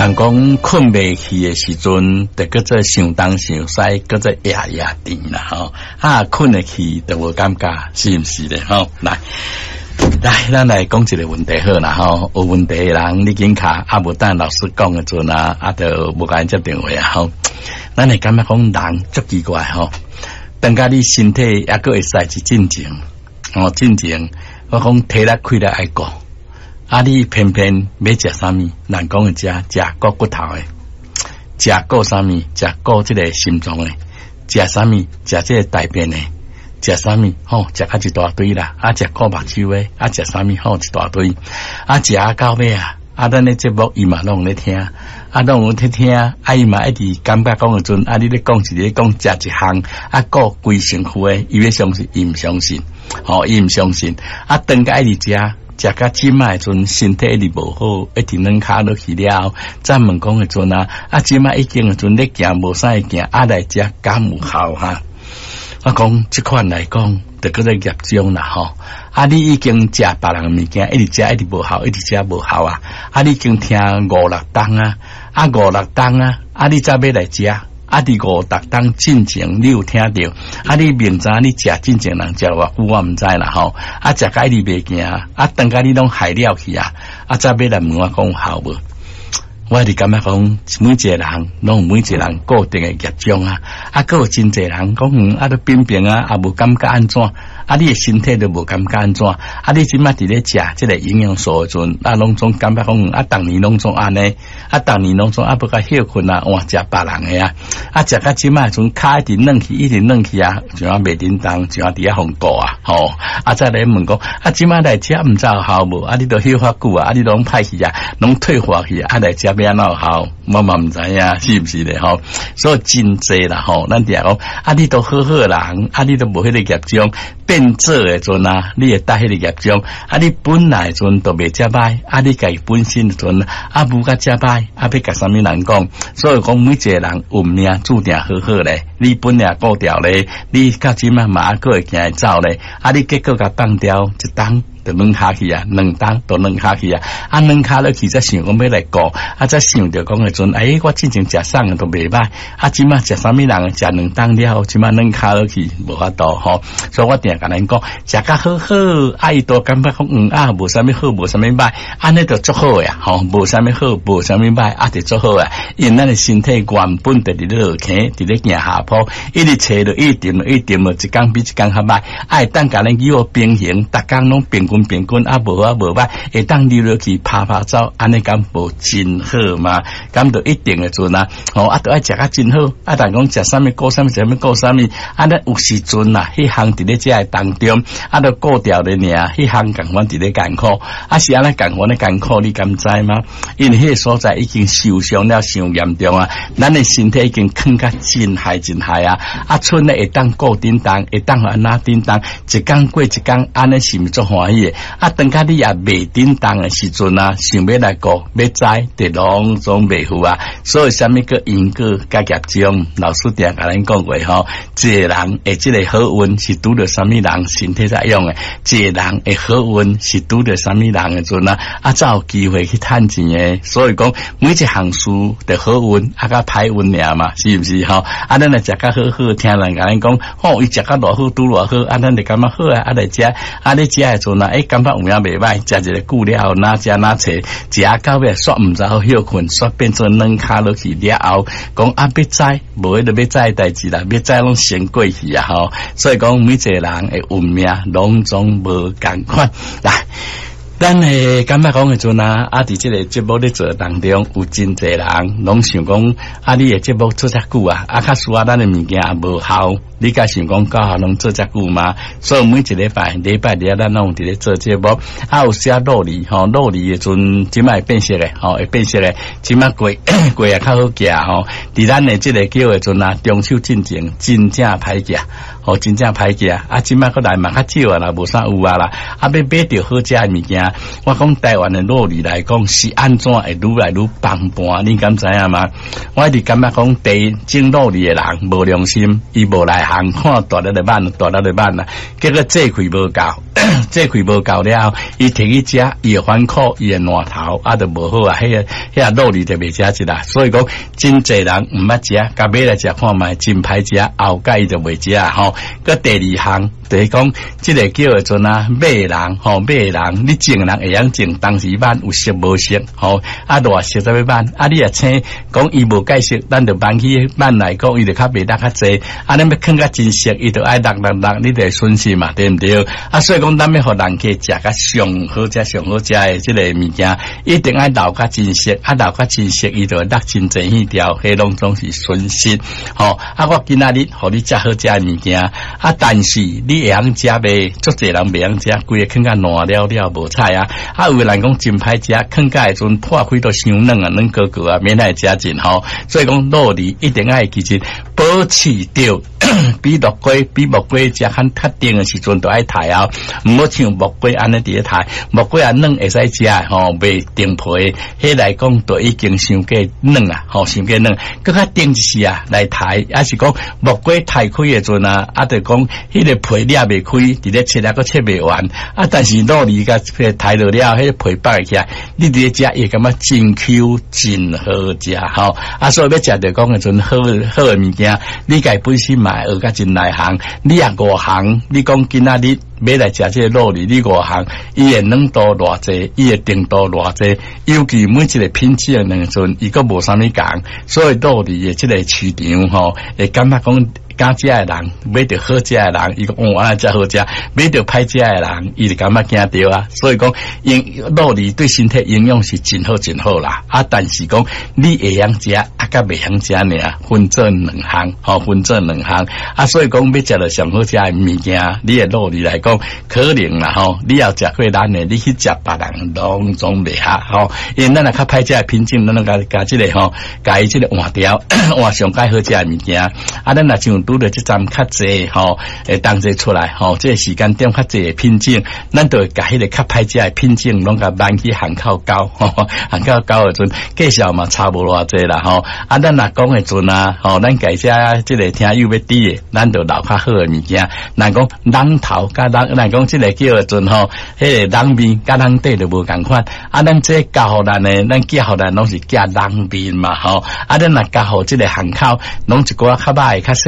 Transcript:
人講睏袂去的時陣，就叫做想東想西，叫做夜夜甜啦吼。啊，睏會去就無感覺，是毋是咧？吼，來來，咱來講一個問題好啦吼。有問題的人你緊敲，啊無等老師講的陣啊，啊就無共𪜶接電話啊吼。咱會感覺講人足奇怪吼，當甲你身體猶閣會使是正常，吼正常，我講體力氣力愛顧。啊！你偏偏欲食啥物？人講的食食顧骨頭的，食顧啥物？食顧這个心臟的，食啥物？食這个大便的，食啥物？吼，食較一大堆啦！啊，食顧目睭的，啊，食啥物？吼，一大堆，啊，食到尾啊！啊，咱的節目伊嘛攏咧聽，啊，攏有咧聽，啊，伊嘛一直感覺講的陣，啊，你咧講一个講食一項，啊，顧規身軀的，伊欲相信，伊毋相信，吼，伊毋相信，啊，當甲一直食。食甲這擺的陣，身體一直無好，一直軟跤落去了。再問講的陣啊，啊這擺已經的陣咧行無啥會行，啊來食敢有效哈？我講這款來講，就叫做業障啦吼。啊，你已經食別人物件，一直食一直無效，一直食無效啊！啊，你已經聽五六冬啊，啊五六冬啊，啊你才欲來食。啊！佇五六冬進前，你有聽著？啊！你明知你食進前人食偌久，我毋知啦吼。啊，食甲一直袂行，啊，當甲你攏害了去啊！啊，才欲來問我講有效無？我是感覺講，每一個人攏有每一個人固定的業障啊！啊，閣有真濟人講，嗯，啊，都平平啊，也無感覺按怎？啊，你的身體都無感覺按怎？啊，你這擺佇咧食這个營養素的陣，啊，攏總感覺講，啊，逐年攏總按呢，啊，逐年攏總啊，欲較歇睏啊，換食別人的啊，啊，食到這擺陣跤一直軟去，一直軟去啊，像啊袂振動，像啊佇遐予顧啊，吼，啊，再來問講，啊，這擺來食毋知有效無？啊，你都休較久啊，啊，你攏歹去啊，攏退化去啊，來食欲按怎有效？我嘛毋知影，是毋是咧？吼，所以真濟啦，吼，咱定講，啊，你都好好人，啊，你都無彼個業障。變做的陣啊，你會帶彼個業障，啊，你本來陣都袂遮歹，啊，你家己本身的陣啊，無較遮歹，啊，欲共啥物人講？所以講每一個人運命注定好好咧，你本來顧牢咧，你到這擺嘛猶閣會行會走咧，啊，你結果共放掉一冬。就軟跤去啊，兩冬就軟跤去啊，啊軟跤落去才想講欲來顧，啊才想著講的陣，哎，我之前食啥都袂歹，啊這擺食啥物人食兩冬了後，這擺軟跤落去無法度吼，所以我定共恁講，食較好好，啊伊都感覺講嗯啊，無啥物好，無啥物歹，按呢就足好呀，吼，無啥物好，無啥物歹，啊就足好啊，因為咱的身體原本就佇咧落坑，佇咧行下坡，一直揣落，一直沉落，一直沉落，一工比一工較歹，啊會當共咱叫我平衡，逐工攏平均平均啊，無好無歹，會當溜落去拍拍走，按呢敢無真好嗎？敢就一定的陣啊，吼啊，都愛食較真好，啊，但講食啥物顧啥物，食啥物顧啥物，啊，咱有時陣啊，彼項佇咧遮的當中，啊，都顧牢咧爾，彼項仝款佇咧艱苦，啊是按呢仝款咧艱苦，你敢知嗎？因為彼个所在已經受傷了，傷嚴重啊，咱的身體已經囥甲真害真害啊，啊，賰咧會當顧振動，會當按怎振動，一工過一工，按呢是毋是足歡喜的？啊，當甲你也袂振動的時陣啊，想欲來顧，欲知，就攏總袂赴啊。所以啥物叫因果佮業障？老師定共咱講過吼，一個人的這个好運是拄著啥物人身體才用的，一個人的好運是拄著啥物人的陣啊，啊，才有機會去趁錢的。所以講，每一項事的好運啊，佮歹運爾嘛，是毋是吼？啊，咱來食較好好，聽人共咱講，吼，伊食較偌好，拄偌好，啊，咱就感覺好啊，啊來食，啊你食的陣啊，欸，感覺有影袂歹，食一个久了後，哪食哪揣，食到尾煞毋知好歇睏，煞變做軟跤落去了後，講啊欲知，無彼个欲知的代誌啦，欲知攏先過去啊吼。所以講每一個人的運命攏總無仝款來。咱會感覺講的陣啊，啊，佇這个節目咧做當中，有真濟人攏想講，啊，你的節目做遮久啊，啊，較輸啊，咱的物件也無效，你敢想講教學攏做遮久嗎？所以每一禮拜禮拜日咱攏有佇咧做節目，啊，有時啊落梨吼，落梨的陣，這擺會變色的，吼，會變色的，這擺過過也較好寄吼。佇咱的這个叫的陣啊，中秋進前真正歹寄，吼，真正歹寄，啊，這擺閣來嘛較少啊啦，無啥有啊啦，啊，欲買著好食的物件。我講台灣的酪梨來講是按怎會愈來愈崩盤，你敢知影嗎？我一直感覺講，第一種酪梨的人無良心，伊無內行，看大粒的挽，大粒的挽啊，結果制開無夠。這氣無夠了，伊提去食，伊會反苦，伊會爛頭，啊，就無好啊，彼個酪梨就袂食一啦。所以講，真濟人毋捌食，共買來食看覓，真歹食，後蓋伊就袂食吼。閣第二項，就是講，這個叫做啊，買人吼，買人，你種人會曉種，當時挽有熟無熟吼，啊，偌熟才欲挽，啊，你若青講伊無蓋熟，咱就挽去挽來講，伊就較袂落較濟。啊，你欲囥較真熟，伊就愛落落落，你就會損失嘛，對毋對？啊，所以講，咱欲予人客食較上好食、上好食的這个物件，一定愛留較真熟，啊，留較真熟，伊就會落真濟耳條，彼攏總是損失。吼，啊，我今仔日予你食好食的物件，啊，但是你會曉食袂？足濟人袂曉食，規个囥甲爛了了無彩啊！啊，有的人講真歹食，囥甲的時陣破開都傷軟啊，軟糊糊啊，免來食盡吼。所以講，酪梨一定愛記住保持著比木瓜比木瓜食較較甜的時陣，就愛刣啊，毋好像木瓜按呢佇咧刣，木瓜啊軟會使食吼，袂定皮，彼來講就已經傷過軟啊，吼，傷過軟，閣較甜一時啊來刣，抑是講木瓜刣開的陣啊，啊，就講彼个皮裂袂開，佇咧切啊，閣切袂完，啊，但是酪梨共刣落了，彼个皮剝起來，你佇咧食會感覺真 Q 真好食吼，啊，所以欲食著講的陣好好的物件，你家本身嘛會學甲真內行，你若外行，你講今仔日欲來食這个酪梨，你外行，伊的軟度偌濟，伊的甜度偌濟，尤其每一個品種的兩陣，伊閣無啥物仝，所以酪梨的這个市場吼，會感覺講。敢食的人買著好食的人，伊講哦，按呢才好食；買著歹食的人，伊就感覺驚著啊。所以講，營酪梨對身體營養是真好真好啦。啊，但是講你會曉食，啊，佮袂曉食爾，分做兩項，吼，分做兩項。啊，所以講欲食著上好食的物件，你的酪梨來講，可能啦吼，你有食過咱的，你去食別人攏總袂合吼。因為咱若較歹食的品種，咱攏共共這个吼，共伊這个換掉，換上蓋好食的物件。啊，咱若像拄著這站較濟吼，會當齊出來吼，這个時間點較濟的品種，咱就會共彼个較歹食的品種攏共挽去巷口溝，巷口溝的陣，價數嘛差無偌濟啦吼。啊，咱若講的陣啊，吼，咱家遮這个聽友欲佇的，咱就留較好的物件。若講櫳頭佮櫳，若講這个叫的陣吼，彼个櫳面佮櫳底就無仝款。啊，咱這交予咱的，咱寄予咱攏是寄櫳面嘛吼。啊，咱若交予這个巷口，攏一寡較歹的、較細。